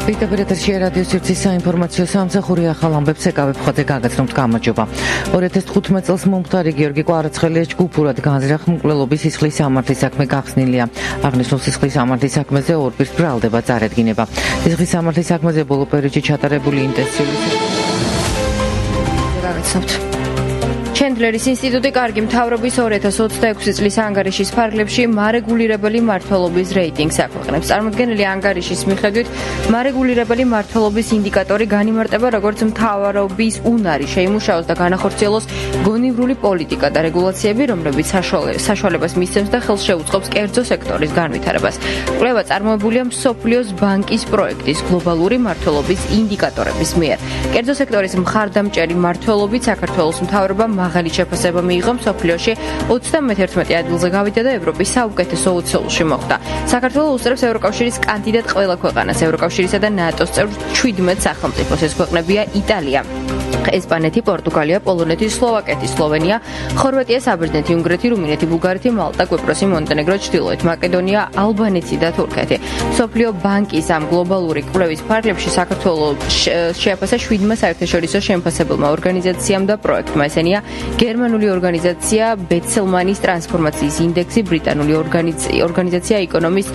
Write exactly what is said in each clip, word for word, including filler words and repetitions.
ვიტაბერეთში რადიო სივრცის საინფორმაციო სამსახური ახალ ამბებს ეკავებ ხოთე გაგაცნობთ გამარჯობა. ორი ათას თხუთმეტ წელს მომხდარი გიორგი კვარაცხელიას ჯგუფურად განზრახ მკვლელობის სისხლის სამართლის საქმე გახსნილია. აღნიშნულ სისხლის სამართლის საქმეზე ორ პირს ბრალდება წარედგინება. სისხლის სამართლის საქმეზე ბოლო პერიოდში ჩატარებული ინტენსიური გაგაცნობთ. ჩენდლერის ინსტიტუტი კარგი მთავრობის ორი ათას ოცდაექვსი წლის ანგარიშის ფარგლებში მარეგულირებელი მმართველობის რეიტინგს აქვეყნებს. წარმოდგენილი ანგარიშის მიხედვით მარეგულირებელი მმართველობის ინდიკატორი განიმარტება როგორც მთავრობის უნარი შეიმუშაოს და განახორციელოს გონივრული პოლიტიკა და რეგულაციები, რომლებიც საშუალებას მისცემს და ხელს შეუწყობს კერძო სექტორის განვითარებას. კვლევა წარმოებულია მსოფლიოს ბანკის პროექტის გლობალური მმართველობის ინდიკატორების მიერ. კერძო სექტორის მხარდამჭერი მმართველობით საქართველოს მთავრობა მაღალი შეფასება მიიღო მსოფლიოში ოცდამეთერთმეტე ადგილზე გავიდა და ევროპის საუკეთესო ოცეულში მოხვდა. საქართველოს უსწრებს ევროკავშირის კანდიდატ ყველა ქვეყანას, ევროკავშირისა და ნატოს წევრ შვიდმეტ სახელმწიფოს. ეს ქვეყნებია იტალია, ესპანეთი, პორტუგალია, პოლონეთი, სლოვაკეთი, სლოვენია, ხორვატია, საბერძნეთი, უნგრეთი, რუმინეთი, ბულგარეთი, მალტა, კვიპროსი, მონტენეგრო, ჩრდილოეთ მაკედონია, ალბანეთი და თურქეთი. მსოფლიო ბანკის ამ გლობალური კვლევის ფარგლებში საქართველოს შეაფასა შვიდმა საერთაშორისო შემფასებელმა ორგანიზაციამ და პროექტმა. ესენია გერმანული ორგანიზაცია ბეცელმანის ტრანსფორმაციის ინდექსი, ბრიტანული ორგანიზაცია ეკონომის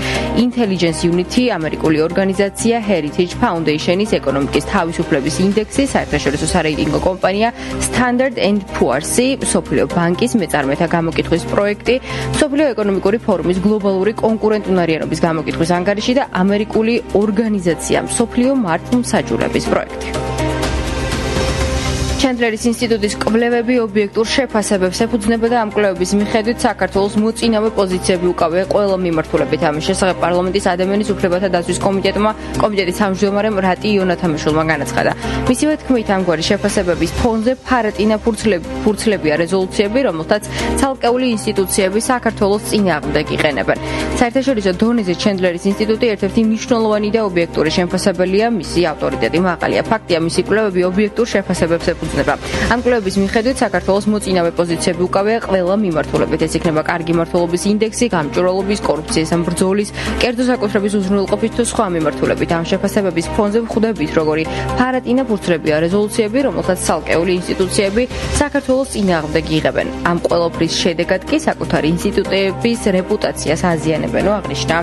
ინტელიგენს იუნიტი, ამერიკული ორგანიზაცია Heritage Foundation-ის ეკონომიკის თავისუფლების ინდექსი, საერთაშორისო სარეიტინგო კომპანია Standard and Poor's, მსოფლიო ბანკის მეწარმეთა გამოკითხვის პროექტი, მსოფლიო ეკონომიკური ფორუმის გლობალური კონკურენტუნარიანობის გამოკითხვის ანგარიში და ამერიკული ორგანიზაცია მსოფლიო მართლმსაჯულების პროექტი. ჩენდლერის ინსტიტუტის კვლევები ობიექტურ შეფასებებს ეფუძნება და ამ კვლევების მიხედვით საქართველოს მოწინავე პოზიციები უკავია ყველა მიმართულებით. ამის შესახებ პარლამენტის ადამიანის უფლებათა დაცვის კომიტეტმა კომიტეტის თავმჯდომარემ რატი იონათამიშვილმა განაცხადა. მისივე თქმით, ამგვარი შეფასებების ფონზე ფარატინა ფურცლებია რეზოლუციები, რომელთაც ცალკეული ინსტიტუციები საქართველოს წინააღმდეგ იყენებენ. საერთაშორისო დონეზე ჩენდლერის ინსტიტუტი ერთ-ერთი მნიშვნელოვანი და ობიექტური შემფასებელია, მისი ავტორიტეტი მაღალია. ფაქტია, მისი კვლევები ობიექტურ შეფასებებს ეფუძნება. ამ კვლევების მიხედვით საქართველოს მოწინავე პოზიციები უკავია ყველა მიმართულებით. ეს იქნება კარგი მმართველობის ინდექსი, გამჭვირვალობის, კორუფციის ან ბრძოლის, კერძო საკუთრების უზრუნველყოფის თუ სხვა მიმართულებით. ამ შეფასებების ფონზე ვხვდებით, როგორი ფარატინა ფურცლებია რეზოლუციები, რომელთაც ცალკეული ინსტიტუციები საქართველოს წინააღმდეგ იღებენ. ამ ყველაფრის შედეგად კი საკუთარი ინსტიტუტების რეპუტაციას აზიანებენო, აღნიშნა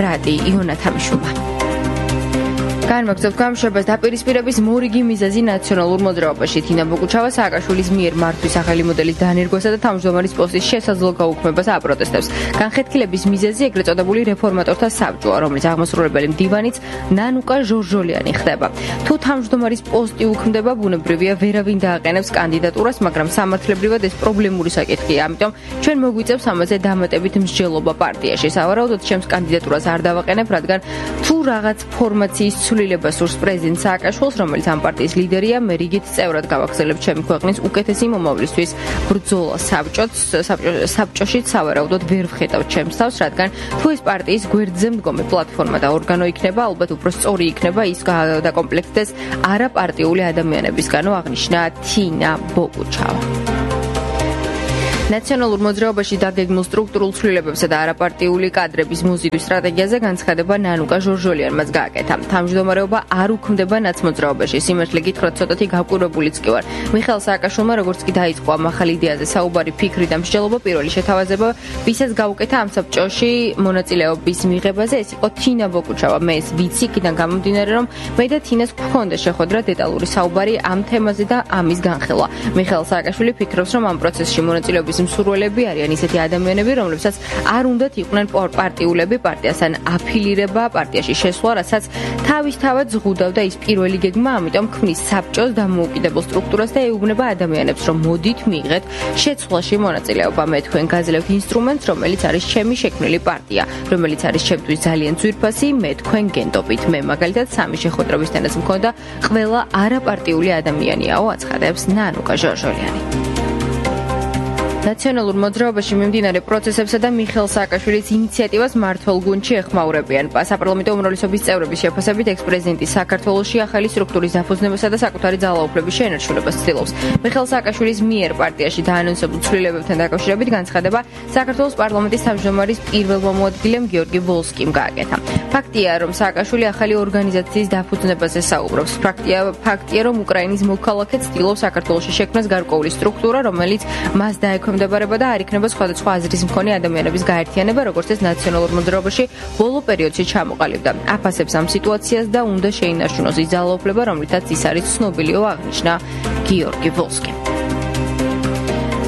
რატი იონათამიშვილმა. განმაგზავნებთ გამშვებას დაპირისპირების მორიგი მიზეზი ნაციონალურ მოძრაობაში. თინა ბოგუჩავა სააკაშვილის მიერ მართვის ახალი მოდელის დანერგვასა და თავმჯდომარის პოსტის შესაძლო გაუქმებას აპროტესტებს. განხეთქილების მიზეზი ეგრეთ წოდებული რეფორმატორთა საბჭოა, რომლის აღმასრულებელი მდივანიც ნანუკა ჟორჟოლიანი ხდება. თუ თავმჯდომარის პოსტი უქმდება, ბუნებრივია ვერავინ დააყენებს კანდიდატურას, მაგრამ სამართლებრივად ეს პრობლემური საკითხია. ამიტომ ჩვენ მოგვიწევს ამაზე დამატებით მსჯელობა პარტიაში. სავარაუდოდ ჩემს კანდიდატურას არ დავაყენებ, რადგან თუ რაღაც ფორმაციის ცვლილება სურს პრეზიდენტ სააკაშვილს, რომელიც ამ პარტიის ლიდერია, მე რიგით წევრად გავაგრძელებ ჩემი ქვეყნის უკეთესი მომავლისთვის ბრძოლა საბჭოში. სავარაუდოდ ვერ ვხედავ ჩემს თავს, რადგან თუ ეს პარტიის გვერდზე მდგომი პლატფორმა და ორგანო იქნება, ალბათ უფრო სწორი იქნება ის დაკომპლექტდეს არაპარტიული ადამიანებისგანო, აღნიშნა თინა ბოგუჩავა. ნაციონალურ მოძრაობაში დაგეგმილ სტრუქტურულ ცვლილებებსა და არაპარტიული კადრების მოზიდვის სტრატეგიაზე განცხადება ნანუკა ჟორჟოლიანმაც გააკეთა. თავმჯდომარეობა არ უქმდება ნაცმოძრაობაში. სიმართლე გითხრათ, ცოტათი გავკვირვებულიც კი ვარ. მიხეილ სააკაშვილმა როგორც კი დაიწყო ამ ახალ იდეაზე საუბარი, ფიქრი და მსჯელობა, პირველი შეთავაზება, ვისაც გაუკეთა ამ საბჭოში მონაწილეობის მიღებაზე, ეს იყო თინა ბოგუჩავა. მე ეს ვიცი, იქიდან გამომდინარე, რომ მე და თინას გვქონდა შეხვედრა, დეტალური საუბარი ამ თემაზე და ამის განხილვა. მიხეილ სააკაშვილი ფიქრობს, რომ ამ პროცესში მონაწილეობის მსურველები არიან ისეთი ადამიანები, რომლებსაც არ უნდათ იყვნენ პარტიულები, პარტიასთან აფილირება, პარტიაში შესვლა, რასაც თავისთავად ზღუდავდა ის პირველი გეგმა, ამიტომ ქმნის საბჭოს დამოუკიდებელ სტრუქტურას და ეუბნება ადამიანებს, რომ მოდით მიიღეთ შეცვლაში მონაწილეობა. მე თქვენ გაძლევთ ინსტრუმენტს, რომელიც არის ჩემი შექმნილი პარტია, რომელიც არის ჩემთვის ძალიან ძვირფასი, მე თქვენ გენდობით. მე მაგალითად სამი შეხვედრებისთანაც მქონდა ყველა არაპარტიული ადამიანიაო, აცხადებს ნანუკა ჟორჟოლიანი. ნაციონალურ მოძრაობაში მიმდინარე პროცესებსა და მიხეილ სააკაშვილის ინიციატივას მმართველ გუნდში ეხმაურებიან. საპარლამენტო უმრავლესობის წევრების შეფასებით ექს-პრეზიდენტი საქართველოში ახალი სტრუქტურის დაფუძნებასა და საკუთარი ძალაუფლების შენარჩუნებას ცდილობს. მიხეილ სააკაშვილის მიერ პარტიაში დაანონსებულ ცვლილებებთან დაკავშირებით განცხადება საქართველოს პარლამენტის თავმჯდომარის პირველ მოადგილემ გიორგი ვოლსკიმ გააკეთა. ფაქტია, რომ სააკაშვილი ახალი ორგანიზაციის დაფუძნებაზე საუბრობს. ფაქტია, ფაქტია, რომ უკრაინის მოქალაქე ცდილობს საქართველოში შექმნას გარკვეული სტრუქტურა, რომელიც მას დაექვემდებარება და არ იქნება სხვადასხვა აზრის მქონე ადამიანების გაერთიანება, როგორც ეს ნაციონალურ მოძრაობაში ბოლო პერიოდში ჩამოყალიბდა. აფასებს ამ სიტუაციას და უნდა შეინარჩუნოს ის ძალაუფლება, რომლითაც ის არის ცნობილიო, აღნიშნა გიორგი ვოლსკიმ.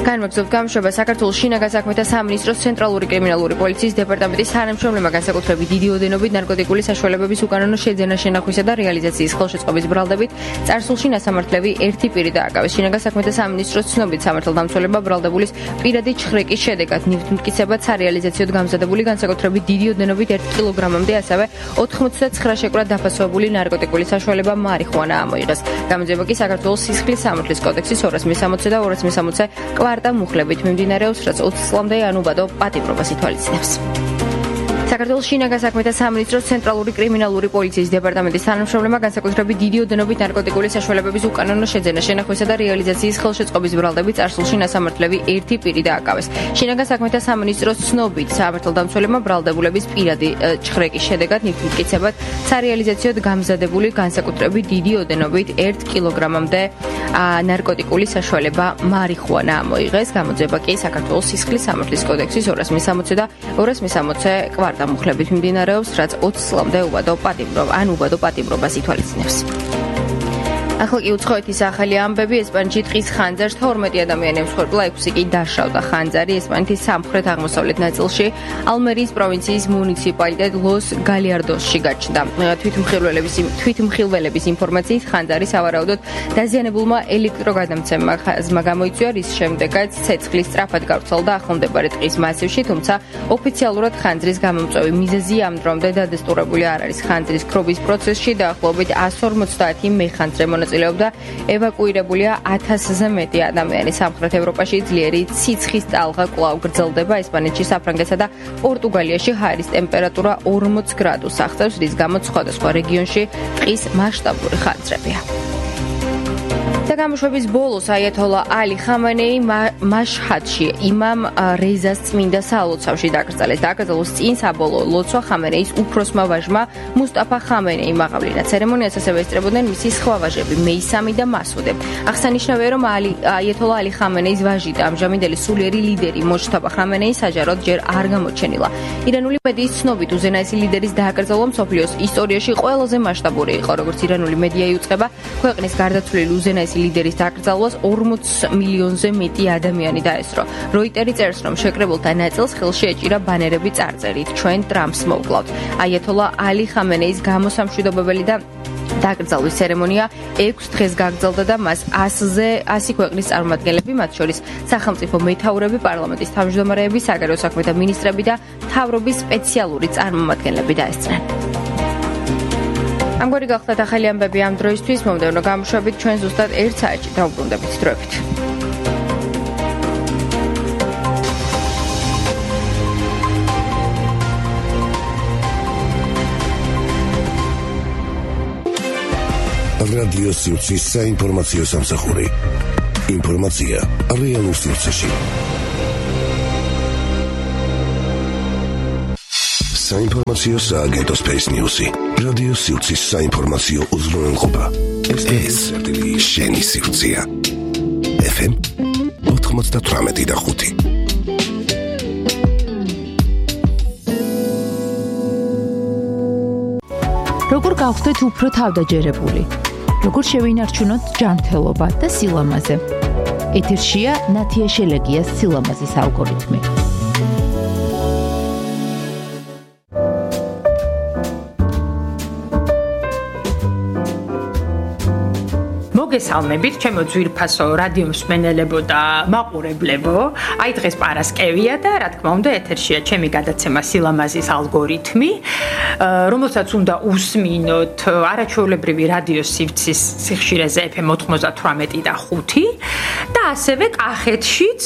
განმეორებით გამშვება საქართველოს შინაგან საქმეთა სამინისტროს ცენტრალური კრიმინალური პოლიციის დეპარტამენტის თანამშრომლებმა განსაკუთრებით დიდი ოდენობით ნარკოტიკული საშუალებების უკანონო შეძენა შენახვისა და რეალიზაციის ხელშეწყობის ბრალდებით წარსულში ნასამართლები ერთი პირი დააკავეს. შინაგან საქმეთა სამინისტროს ცნობით სამართალდამცველებმა ბრალდებულის პირადი ჩხრეკის შედეგად ნივთმტკიცებად სარეალიზაციოდ გამზადებული განსაკუთრებით დიდი ოდენობით ერთ კილოგრამამდე, ასევე ოთხმოცდაცხრა შეკვრად დაფასებული ნარკოტიკული საშუალება მარიხუანა ამოიღეს. გამოძიება კი საქართველოს სისხლის სამართლის კოდექსის ორას მესამოცე და ორას მესამოცე კვარტა მუხლებით მიმდინარეობს, რაც ოცი წლამდე ანუბადო პატიმრობას ითვალისწინებს. საქართველოს შინაგან საქმეთა სამინისტროს ცენტრალური კრიმინალური პოლიციის დეპარტამენტის თანამშრომლებმა განსაკუთრებით დიდი ოდენობით ნარკოტიკული საშუალებების უკანონო შეძენა შენახვისა და რეალიზაციის ხელშეწყობის ბრალდებით წარსულში ნასამართლები ერთი პირი დააკავეს. შინაგან საქმეთა სამინისტროს ცნობით სამართალდამცველებმა ბრალდებულების პირადი ჩხრეკის შედეგად ნივთმტკიცებად სარეალიზაციოდ გამზადებული განსაკუთრებით დიდი ოდენობით ერთ კილოგრამამდე ნარკოტიკული საშუალება მარიხუანა ამოიღეს. გამოძიება კი საქართველოს სისხლის სამართლის კოდექსის ორას მესამოცე და ორას მესამოცე კვარტა მუხლებით მიმდინარეობს, რაც ოცი წლამდე უბადო პატიმრობა ან უბადო პატიმრობას ითვალისწინებს. ახლა კი უცხოეთის ახალი ამბები. ესპანეთში ტყის ხანძარს თორმეტი ადამიანი ემსხვერპლა, ექვსი კი დაშავდა. ხანძარი ესპანეთის სამხრეთ აღმოსავლეთ ნაწილში ალმერიის პროვინციის მუნიციპალიტეტ ლოს გალიარდოსში გაჩნდა. თვითმხილველების ინფორმაციით ხანძარი სავარაუდოდ დაზიანებულმა ელექტროგადამცემმა გამოიწვია, რის შემდეგაც ცეცხლი სწრაფად გავრცელდა ახლომდებარე ტყის მასივში, თუმცა ოფიციალურად ხანძრის გამომწვევი მიზეზი ამ დრომდე დადასტურებული არ არის. ხანძრის ქრობის პროცესში დაახლოებით εκατს ორმოცდაათი მეხანძრე მონაწილეობდა, ევაკუირებულია ათასზე მეტი ადამიანი. სამხრეთ ევროპაში ძლიერი ციცხის ტალღა კვლავ გრძელდება. ესპანეთში, საფრანგეთსა და პორტუგალიაში ჰაერის ტემპერატურა ორმოც გრადუსს აღწევს, რის გამოც სხვადასხვა რეგიონში ტყის მასშტაბური ხანძრებია. და გამოშვების ბოლოს აიათოლა ალი ხამენეი მაშჰადში იმამ რეზას წმინდა სალოცავში დაკრძალეს. დაკრძალვის წინ საბოლოო ლოცვა ხამენეის უფროსმა ვაჟმა მუსტაფა ხამენეიმ აღავლინა. ცერემონიას ასევე ესწრებოდნენ მისი სხვა ვაჟები მეისამი და მასუდე. აღსანიშნავია, რომ აიათოლა ალი ხამენეის ვაჟი და ამჟამინდელი სულიერი ლიდერი მოჯთაბა ხამენეი საჯაროდ ჯერ არ გამოჩენილა. ირანული მედიის ცნობით უზენაესი ლიდერის დაკრძალვა მსოფლიოს ისტორიაში ყველაზე მასშტაბური იყო. როგორც ირანული მედია იუწყება, ქვეყნის გარდაცვლილი უზენაესი ლიდერის დაკრძალვას ორმოც მილიონზე მეტი ადამიანი დაესწრო. როიტერი წერს, რომ შეკრებულთა ნაწილს ხელში ეჭირა ბანერები წარწერით ჩვენ ტრამპს მოვკლავთ. აიათოლა ალი ხამენეის გამოსამშვიდობებელი და დაკრძალვის ცერემონია ექვს დღეს გაგრძელდა და მას ასზე ასი ქვეყნის წარმომადგენლები, მათ შორის სახელმწიფო მეთაურები, პარლამენტის თავმჯდომარეები, საგარეო საქმეთა მინისტრები და მთავრობის სპეციალური წარმომადგენლები დაესწრნენ. ამგვარი გახლდათ ახალი ამბები ამ დროისთვის. მომდევნო გამოშვებით ჩვენ ზუსტად ერთ საათში დავუბრუნდებით დროებით. რადიო სიუცის საინფორმაციო სამსახური. ინფორმაცია რეალურ სიუცეში. საინფორმაციო სააგენტო Space News-ი. რადიო სიუცის საინფორმაციო უზრუნველყოფა. ეს შენი სიუცია. ეფ ემ ოთხმოცდათვრამეტი და ხუთი. როგორ გავხდეთ უფრო თავდაჯერებული? როგორ შევინარჩუნოთ ჯანმრთელობა და სილამაზე? ეთერშია ნათია შელეგიას სილამაზის ალგორითმი. მოგესალმებით, ჩემო ძვირფასო რადიო მსმენელებო და მაყურებლებო. აი დღეს პარასკევია და რა თქმა უნდა ეთერშია ჩემი გადაცემა სილამაზის ალგორითმი, რომელსაც უნდა უსმინოთ არაჩვეულებრივი რადიო სივრცის სიხშირეზე ეფ ემ ოთხმოცდათვრამეტი და ხუთი და ასევე კახეთშიც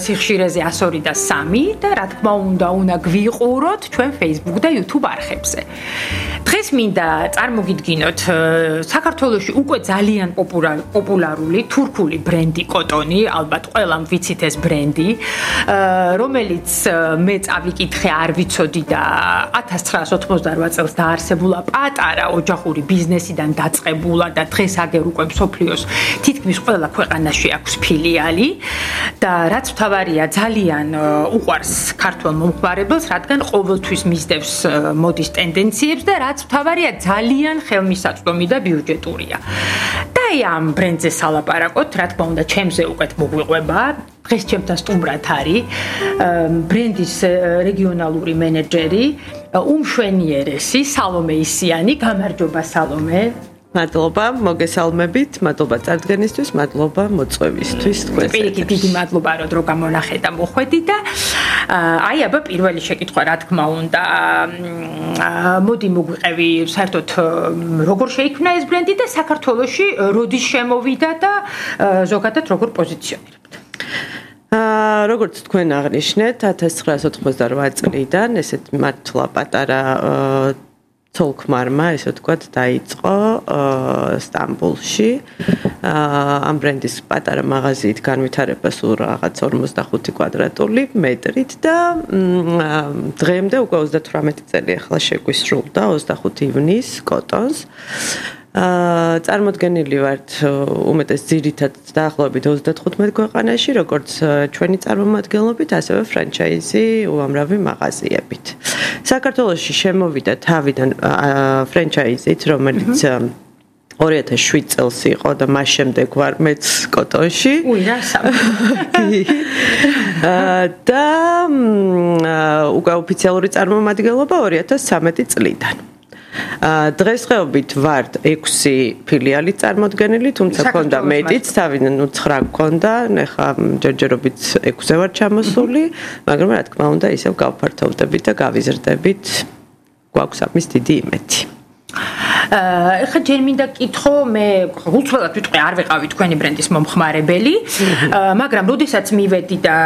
სიხშირეზე εκατს ორი და სამი და რა თქმა უნდა უნდა გვიყუროთ ჩვენ Facebook და YouTube არხებზე. დღეს მინდა წარმოგიდგინოთ საქართველოში უკვე ძალიან პოპულარული თურქული ბრენდი კოტონი, ალბათ ყველამ ვიცით ეს ბრენდი, რომელიც მე წავიკითხე არ ვიცოდი და ათას ცხრაას ოცდაოთხ წელს დაარსებულა პატარა ოჯახური ბიზნესიდან დაწყებულა და დღეს აგერ უკვე მსოფლიოს თითქმის ყველა ქვეყანაში აქვს ფილიალი და რაც მთავარია ძალიან უყვარს ქართულ მომხმარებელს, რადგან ყოველთვის მისდევს მოდის ტენდენციებს და რაც მთავარია ძალიან ხელმისაწვდომი და ბიუჯეტურია. და აი ამ ბრენდზე სალაპარაკოთ, რა თქმა უნდა, ჩემზე უკეთ მოგვიყვება. დღეს ჩემთან სტუმრად არის ბრენდის რეგიონალური მენეჯერი, უმშვენიერესი სალომე ისიანი. გამარჯობა სალომე. მადლობა, მოგესალმებით, მადლობა წარდგენისთვის, მადლობა მოწვევისთვის. პირიქით დიდი მადლობა რომ დრო გამონახე და მოხვედი და აი აბა პირველი შეკითხვა რა თქმა უნდა მოდი მოგვიყევი საერთოდ როგორ შეიქმნა ეს ბრენდი და საქართველოში როდის შემოვიდა და ზოგადად როგორ პოზიციონირებთ? აა როგორც თქვენ აღნიშნეთ ათას ცხრაას ოცდაოთხ წლიდან ესეთ მართლა პატარა ცოლ-ქმარმა, ესე ვთქვათ, დაიწყო სტამბოლში ამ ბრენდის პატარა მაღაზიით განვითარება სულ რაღაც ორმოცდახუთი კვადრატული მეტრით და დღემდე უკვე ოცდათვრამეტი წელი ახლა შეგვისრულდა ოცდახუთი ივნის კოტონს. აა წარმოდგენილი ვართ უმეტეს ძირითად დაახლოებით ოცდათხუთმეტ ქვეყანაში, როგორც ჩვენი წარმომადგენლობით, ასევე ფრანჩაიზი უამრავი მაღაზიებით. საქართველოში შემოვიდა თავიდან ფრანჩაიზით, რომელიც ორი ათას შვიდ წელს იყო და მას შემდეგ ვარ მეც კოტონში. უი, რა სამი. და უკვე ოფიციალური წარმომადგენლობა ორი ათას სამეტი წლიდან. დღესდღეობით ვართ ექვსი ფილიალი წარმოდგენილი, თუმცა ქონდა მეტიც, თავიდან ცხრა ქონდა, ეხლა ჯერჯერობით ექვსზე ვარ ჩამოსული, მაგრამ რა თქმა უნდა ისევ გავფართოვდებით და გავიზრდებით, გვაქვს ამის დიდი იმედი. ეხლა ჯერ მინდა კითხო, მე უცვლელად ვიტყვი არ ვიყავი თქვენი ბრენდის მომხმარებელი, მაგრამ როდესაც მივედი და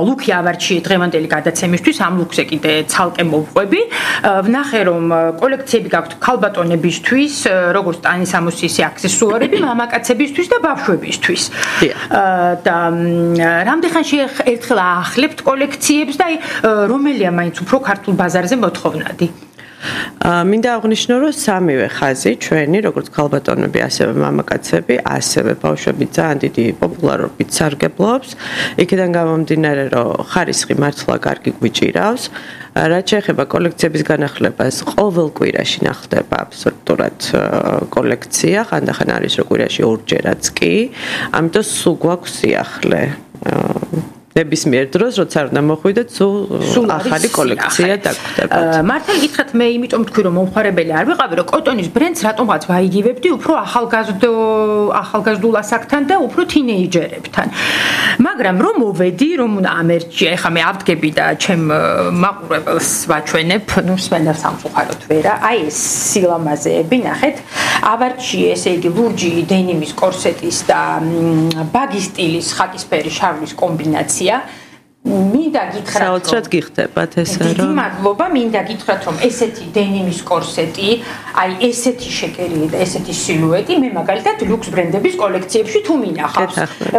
ლუკი ავარჩიე დღევანდელი გადაცემისთვის, ამ ლუკზე კიდე ცალკე მოვყვები, ვნახე რომ კოლექციები გაქვთ ქალბატონებისთვის, როგორც ტანისამოსი ისე აქსესუარები, მამაკაცებისთვის და ბავშვებისთვის. და რამდენხანში ერთხელ აახლებთ კოლექციებს და აი რომელია მაინც უფრო ქართულ ბაზარზე მოთხოვნადი? მინდა აღვნიშნო, რომ სამივე ხაზი ჩვენი, როგორც ქალბატონები, ასევე მამაკაცები, ასევე ბავშვები ძალიან დიდი პოპულარობით სარგებლობს. იქიდან გამომდინარე, რომ ხარისხი მართლა კარგი გვიჭირავს. რაც შეეხება კოლექციების განახლებას, ყოველ კვირაში ნახდება აბსოლუტურად კოლექცია, ხანდახან არის რომ კვირაში ორჯერაც კი. ამიტომ სულ გვაქვს სიახლე. ნებისმიერ დროს, როცა არ უნდა მოხვიდეთ, სულ ახალი კოლექცია დაგვხდებათ. მართალი გითხრათ, მე იმიტომ ვთქვი, რომ მომხმარებელი არ ვიყავი, რომ კოტონის ბრენდს რატომღაც ვაიგივებდი უფრო ახალგაზრდო ახალგაზრდულ ასაკთან და უფრო თინეიჯერებთან. მაგრამ რომ მოვედი, რომ უნდა ამერჩია, ეხლა მე ავდგები და ჩემ მაყურებელს ვაჩვენებ, ნუ მსმენელს სამწუხაროდ ვერა, აი ეს სილამაზეები, ნახეთ, ავარჩიე, ესე იგი, ლურჯი დენიმის კორსეტის და ბაგი სტილის ხაკისფერი შარვის კომბინაცია. მინდა გითხრათ, საოცრად გიხდებათ ესე რომ. დიდი მადლობა, მინდა გითხრათ, რომ ესეთი დენიმის კორსეტი, აი ესეთი შეკერილი და ესეთი სილუეტი მე მაგალითად ლუქს ბრენდების კოლექციებში თუ მინახავს.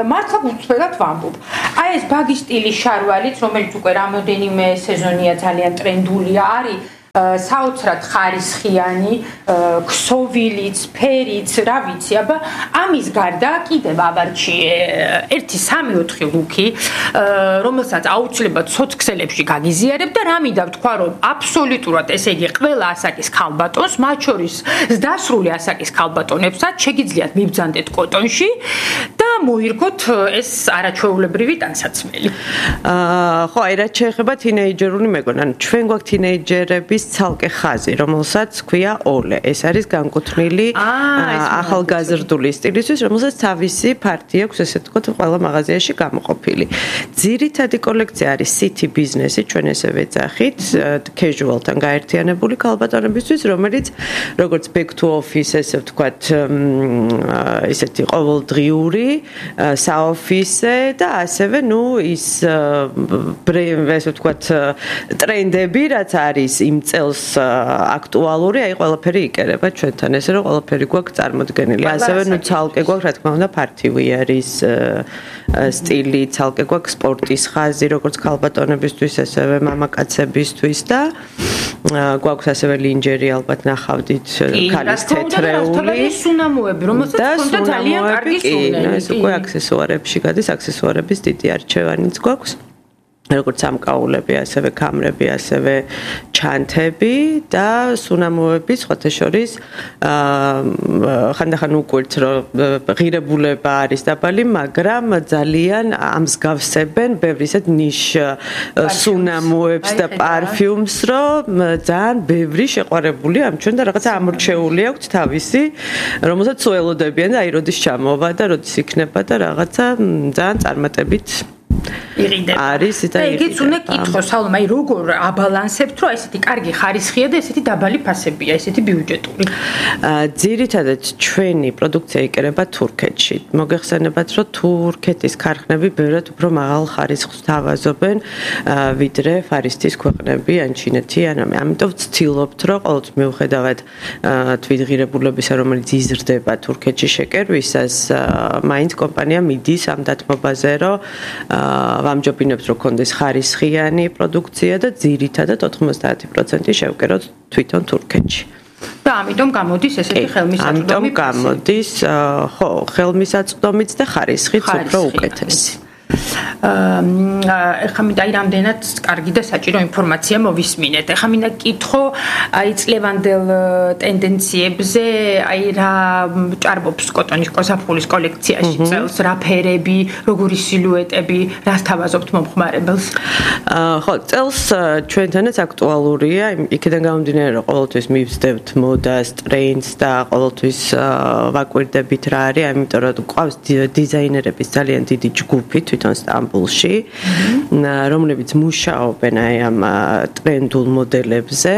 მართლა უცვლელად ვამბობ. აი ეს ბაგი სტილის შარვალიც, რომელიც უკვე რამოდენიმე სეზონია ძალიან ტრენდულია, არის საოცრად ხარისხიანი, ქსოვილიც, ფერიც, რა ვიცი, აბა ამის გარდა კიდევ ავარჩიე ერთი სამი ოთხი ლუკი, რომელსაც აუცილებლად სოციქსელებში გაგიზიარებ და რა მინდა ვთქვა, რომ აბსოლუტურად, ესე იგი, ყველა ასაკის ქალბატონს, მათ შორის ზრდასრული ასაკის ქალბატონებსაც შეგიძლიათ მიბრძანდეთ კოტონში და მოირგოთ ეს არაჩვეულებრივი ტანსაცმელი. აა ხო, აი რაც შეეხება თინეიჯერული მეგონა, ანუ ჩვენ გვაქვს თინეიჯერების ცალკე ხაზი, რომელსაც ქვია ოლე. ეს არის განკუთვნილი ახალგაზრდული სტილისთვის, რომელსაც თავისი ფართი აქვს, ესე ვთქვათ, ყველა მაღაზიაში გამოყოფილი. ძირითადი კოლექცია არის city business-ი, ჩვენ ესე ვეძახით, casual-თან გაერთიანებული ქალბატონებისთვის, რომელიც როგორც back to office, ესე ვთქვათ, ისეთი ყოველდღიური საოფისე და ასევე, ნუ ის ესე ვთქვათ, ტრენდები, რაც არის იმ წელს აქტუალური, აი ყველაფერი იკერება ჩვენთან, ესე რომ ყველაფერი გვაქვს წარმოდგენილი. ასევე, ნუ ცალკე გვაქვს, რა თქმა უნდა, party wear-ის სტილი, ცალკე გვაქვს სპორტის ხაზი, როგორც ქალბატონებისთვის, ასევე მამაკაცებისთვის და გვაქვს ასევე ლინჯერი, ალბათ ნახავდით, ქალის თეთრეული სუნამოები, რომელსაც ჰქონდა ძალიან კარგი სუნელი. ეს უკვე აქსესუარებში გადის, აქსესუარების დიდი არჩევანიც გვაქვს. როგორც სამკაულები, ასევე კამრები, ასევე ჩანთები და სუნამოები, სხვათა შორის ხანდახან უკვირთ, რომ ღირებულება არის დაბალი, მაგრამ ძალიან ამსგავსებენ ბევრ ისეთ ნიშ სუნამოებს და პარფიუმს, რომ ძალიან ბევრი შეყვარებული ამ ჩვენ და რაღაცა ამორჩეული აქვთ თავისი, რომელსაც უელოდებიან და აი როდის ჩამოვა და როდის იქნება და რაღაცა ძალიან წარმატებით იღიდება. არის და იგიც უნდა კითხო, სალომა, აი როგორ აბალანსებთ, რომ ესეთი კარგი ხარისხია და ესეთი დაბალი ფასებია, ესეთი ბიუჯეტური. ძირითადად ჩვენი პროდუქცია იკერება თურქეთში. მოგეხსენებათ, რომ თურქეთის ქარხნები ბევრად უფრო მაღალ ხარისხს თავაზობენ, ვიდრე ფარისტის ქვეყნები, ან ჩინეთი, ან ამიტომ ვცდილობთ, რომ ყოველთვის მიუხედავად თვითღირებულებისა, რომელიც იზრდება თურქეთში შეკერვისას, მაინც კომპანია მიდის ამ დათმობაზე, რომ ვამჯობინებთ, რომ კონდეს ხარისხიანი პროდუქცია და ძირითადად ოთხმოცდაათი პროცენტი შევკეროთ თვითონ თურქეთში. და ამიტომ გამოდის ესეთი ხელმისაწვდომი. ამიტომ გამოდის, ხო, ხელმისაწვდომიც და ხარისხიც უფრო უკეთესი. ეხლა მინდა აი რამდენად კარგი და საჭირო ინფორმაცია მოვისმინეთ. ეხლა მინდა კითხო აი წლევანდელ ტენდენციებზე, აი რა ჭარბობს კოტონის კოსაფულის კოლექციაში წელს, რა ფერები, როგორი სილუეტები, რას თავაზობთ მომხმარებელს? ხო, წელს ჩვენთანაც აქტუალურია, იქიდან გამომდინარე, რომ ყოველთვის მივსდევთ მოდას, ტრენდს და ყოველთვის ვაკვირდებით რა არის, ამიტომ რომ ყავს დიზაინერების ძალიან დიდი ჯგუფი თვითონ სტამბულში, რომლებიც მუშაობენ აი ამ ტრენდულ მოდელებზე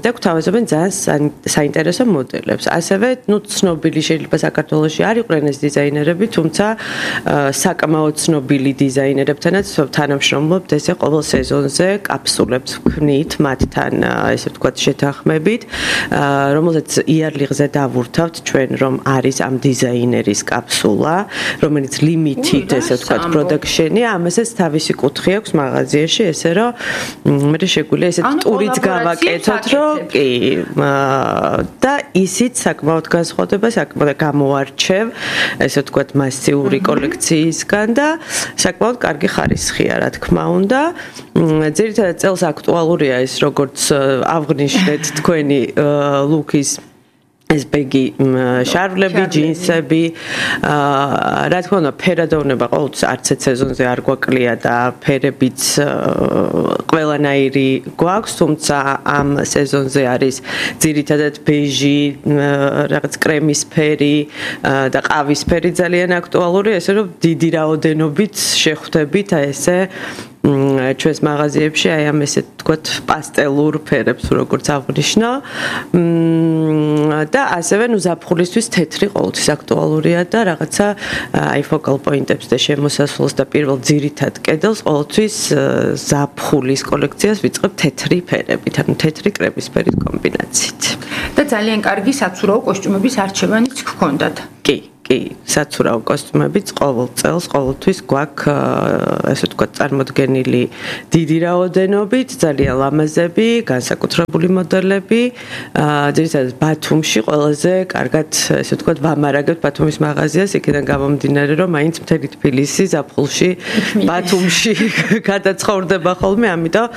და გვთავაზობენ ძალიან საინტერესო მოდელებს. ასევე, ნუ ცნობილი შეიძლება საქართველოში არ იყვნენ ეს დიზაინერები, თუმცა საკმაოდ ცნობილი დიზაინერებთანაც თანამშრომლობთ, ესე ყოველ სეზონზე კაფსულებს ვქმნით მათთან, ესე ვთქვათ, შეთანხმებით, რომელზეც იარლიღზე დავურთავთ ჩვენ, რომ არის ამ დიზაინერის კაფსულა, რომელიც limited, ესე ვთქვათ, production-ი, ამასაც თავისი კუთხე აქვს მაღაზიაში, ესე რომ მე შეგვიძლია ესეთ ტურიც გავაკეთოთ, რომ კი და ისიც საკმაოდ განსხვავდება, საკმაოდ გამოარჩევ, ესე ვთქვათ, მასიური კოლექციისგან და საკმაოდ კარგი ხარისხია, რა თქმა უნდა. ძირითადად წელს აქტუალურია ის, როგორც აღნიშნეთ თქვენი ლუკის ეს ბეგი შარვლები, ჯინსები, რა თქმა უნდა, ფერადოვნება ყოველთვის არც ერთ სეზონზე არ გვაკლია და ფერებიც ყველანაირი გვაქვს, თუმცა ამ სეზონზე არის ძირითადად ბეჟი, რაღაც კრემისფერი და ყავისფერი ძალიან აქტუალური, ესე რომ დიდი რაოდენობით შეხვდებით ესე ჩვენს მაღაზიებში აი ამ ესე თქვათ პასტელურ ფერებს როგორც აღნიშნა და ასევე ნუ ზაფხულისთვის თეთრი ყოველთვის აქტუალურია და რაღაცა აი ფოკალ პოინტებს და შემოსასვლელს და პირველ ძირითად კედელს ყოველთვის ზაფხულის კოლექციას ვიწყებ თეთრი ფერებით, ანუ თეთრი კრემისფერის კომბინაციით. და ძალიან კარგი საცურაო კოსტიუმების არჩევანიც გქონდათ. კი კი, საცურაო კოსტიუმებიც ყოველ წელს ყოველთვის გვაქვს ესე ვთქვათ წარმოდგენილი დიდი რაოდენობით, ძალიან ლამაზები, განსაკუთრებული მოდელები. ძირითადად ბათუმში ყველაზე კარგად ესე ვთქვათ ვამარაგებთ ბათუმის მაღაზიას, იქიდან გამომდინარე, რომ მაინც მთელი თბილისი ზაფხულში ბათუმში გადაცხოვრდება ხოლმე, ამიტომ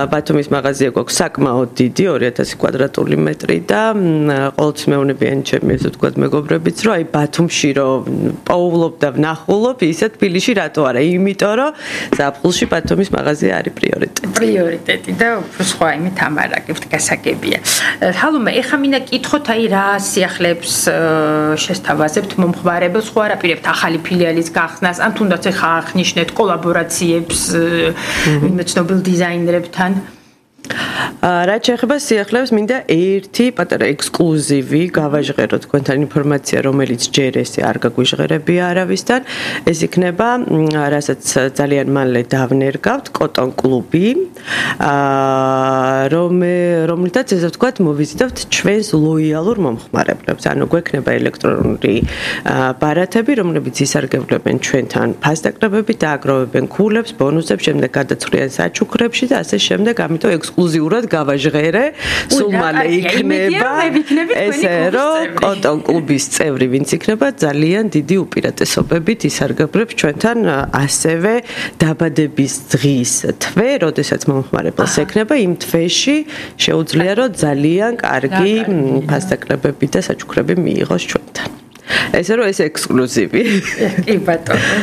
ბათუმის მაღაზია გვაქვს საკმაოდ დიდი, ორი ათასი კვადრატული მეტრი და ყოველთვის მეუბნებიან ჩემი ესე ვთქვათ მეგობრებიც, რომ აი ბათუმში რომ პოულობ და ვნახულობ, ისე თბილისში რატო არა? იმიტომ რომ ზაფხულში ბათუმის მაღაზია არის პრიორიტეტი. პრიორიტეტი და უფრო სხვა იმით ამარაგებთ, გასაგებია. ჰალომა, ეხა მინდა კითხოთ, აი რა სიახლეებს შესთავაზებთ მომხმარებელს, ხო არაპირებთ ახალი ფილიალის გახსნას, ან თუნდაც ეხა აღნიშნეთ კოლაბორაციებს ვინმე ცნობილ დიზაინერებთან? რაც შეეხება სიახლეებს, მინდა ერთი პატარა ექსკლუზივი გავაჟღერო თქვენთან ინფორმაცია, რომელიც ჯერ ესე არ გაგვიჟღერებია არავისთან. ეს იქნება, რასაც ძალიან მალე დავნერგავთ, კოტონ კლუბი, რომლითაც ესე ვთქვათ, მოვიზიტებთ ჩვენს ლოიალურ მომხმარებლებს. ანუ გვექნება ელექტრონული ბარათები, რომლებიც ისარგებლებენ ჩვენთან ფასდაკრებებით, დააგროვებენ ქულებს, ბონუსებს, შემდეგ გადაცვლიან საჩუქრებში და ასე შემდეგ, ამიტომ ექსკლუზიურად გავაჟღერე, სულ მალე იქნება ესე რომ კოტონ კლუბის წევრი ვინც იქნება ძალიან დიდი უპირატესობებით ისარგებლებს ჩვენთან ასევე დაბადების დღის თვე, როდესაც მომხმარებელს ექნება იმ თვეში შეუძლია რომ ძალიან კარგი ფასდაკრებები და საჩუქრები მიიღოს ჩვენთან. ესე რომ ეს ექსკლუზივი. კი ბატონო.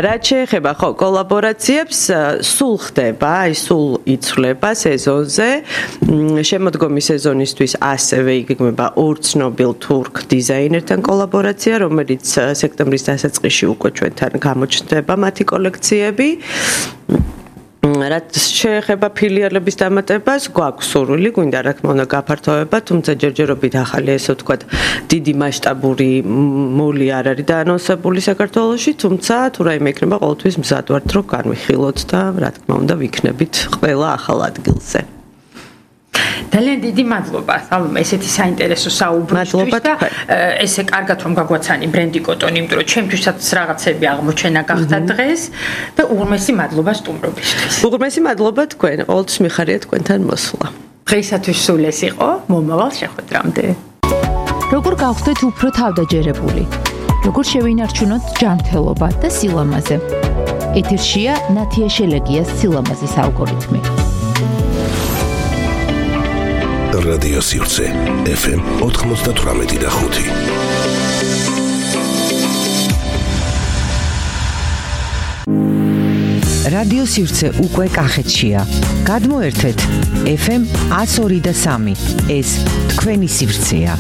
რაც შეეხება ხო კოლაბორაციებს, სულ ხდება, აი სულ იცვლება სეზონზე. შემოდგომი სეზონისთვის ასევე იგეგმება ორ ცნობილ თურქ დიზაინერთან კოლაბორაცია, რომელიც სექტემბრის დასაწყისში უკვე ჩვენთან გამოჩნდება მათი კოლექციები. რაც შეეხება ფილიალების დამატებას, გვაქვს სურვილი, გვინდა რა თქმა უნდა გაფართოება, თუმცა ჯერჯერობით ახალი ესე ვთქვათ, დიდი მასშტაბური მოლი არ არის დაანონსებული საქართველოში, თუმცა თუ რაიმე იქნება, ყოველთვის მზად ვართ, რომ განვიხილოთ და რა თქმა უნდა ვიქნებით ყველა ახალ ადგილზე. ძალიან დიდი მადლობა, სალომე, ესეთი საინტერესო საუბრისთვის და ესე კარგად რომ გაგვაცანი ბრენდი კოტონი, იმიტომ რომ ჩემთვისაც რაღაცები აღმოჩენა გახდა დღეს და უღრმესი მადლობა სტუმრობისთვის. უღრმესი მადლობა თქვენ, ყოველთვის მიხარია თქვენთან მოსვლა. დღეისათვის სულ ეს იყო, მომავალ შეხვედრამდე. როგორ გავხდეთ უფრო თავდაჯერებული? როგორ შევინარჩუნოთ ჯანმრთელობა და სილამაზე? ეთერშია ნათია შელეგიას სილამაზის ალგორითმი. რადიო სივრცე ეფ ემ ოთხმოცდათვრამეტი და ხუთი. რადიო სივრცე უკვე კახეთშია. გადმოერთეთ ეფ ემ ათს ორი და სამი. ეს თქვენი სივრცეა.